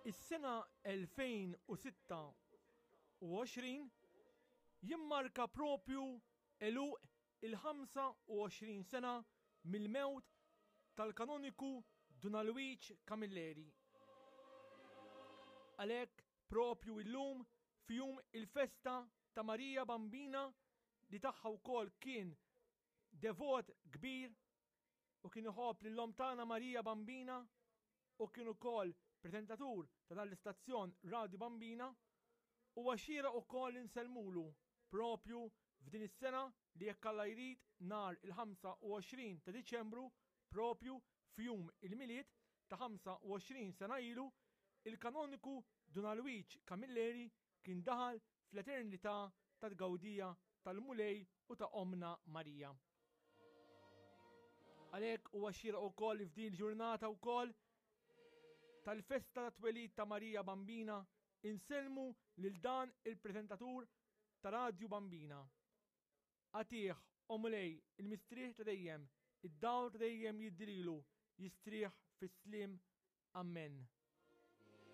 Is-sena 2026 jimmarka propju għeluq il-25 sena mill-mewt tal-kanoniku Dun Alwiġ Camilleri. Għalhekk propju illum f'jum il-festa ta' Marija Bambina li tagħha wkoll kien devot kbir u kien iħobb lil Omm tagħna Marija Bambina u kien ukoll preżentatur ta' dan l-istazzjon Radju Bambina, huwa xieraq ukoll li nsellmulu propju f'din is-sena li jekk Alla jrid nhar il-25 ta' Diċembru propju f'jum il-Milied ta' 25 sena ilu, il-Kanoniku Dun Alwiġ Camilleri kien daħal fl-eternità ta' tgawdija tal-Mulej u ta' Ommna Marija. Għalhekk huwa xieraq ukoll li f'din il-ġurnata wkoll tal-festa ta' twelid ta' Marija Bambina insellmu lil dan il-preżentatur ta' Radju Bambina. Agħtih, o Mulej, il-mistrieħ ta' dejjem, id-dawl ta' dejjem jiddi lilu, jistrieħ fis-sliem. Ammen.